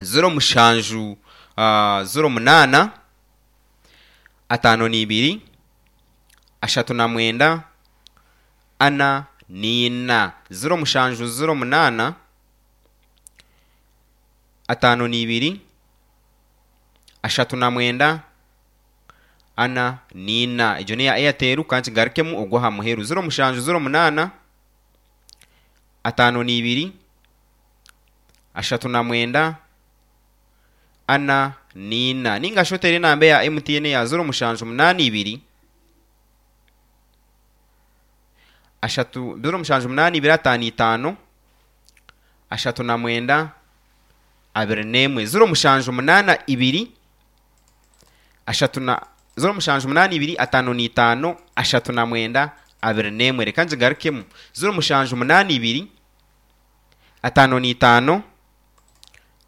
07 08 52 39 44. 07 08 52 39 44. Egyo n'eya Airtel ka nkigarukemu ogw'aha muheru. 07 08 52 39 44. Nainga shi oteere enamba eya MTN eya 0782 3 0782 55 39 21. 0782 3 na 0782 55 39 21. Reka ngigarukemu. 0782 55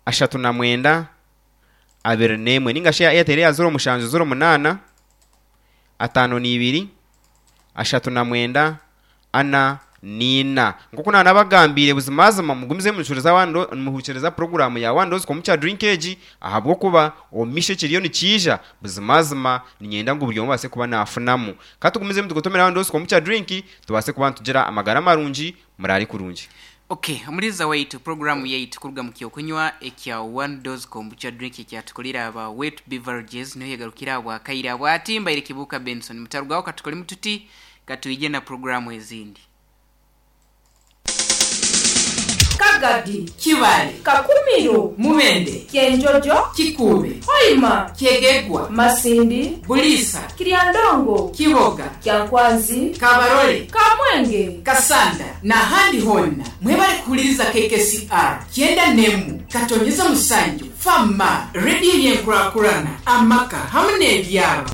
39 21. Nainga shi eya Airtel eya 0708 52 39 44. Nk'oku naanabagambiire, buzimazima mugumize nimuhurikiriza One Do- nimuhurikiriza puroguraamu ya One Dose Kombucha Drink egi, ahabw'okuba omu maisho ekiriyo nikiija, buzimazima niinyenda ngu buri omwe abaase kuba naafunamu. Ka tugumizemu tugotomere One Dose Kombucha Drink, tubaase kuba nitugira amagara marungi. Muraare kurungi. Ok, omuliiza waitu, puroguraamu yaitu kuruga mu ky'okunywa ekya One Dose Kombucha Drink ekyatukorire aba Wet Beverages niho yegarukire ahabwa kaire abwati. Mbaire Kibuuka Benson. Mutarugaho katukoremu tuti, katwije na puroguraamu ezindi. Kagadi, Kibaale, Kakumiro, Mubende, Kyenjojo, Kikuube, Hoima, Kyegegwa, Masindi, Buliisa, Kiryandongo, Kiboga, Kyankwanzi, Kabarole, Kamwenge, Kasanda n'ahandi hoona. Mwebale kuhuliriza KKCR kyenda n'emu katonyeza musanju FM, rediyo y'enkurakurana, amaka hamu n'ebyaro.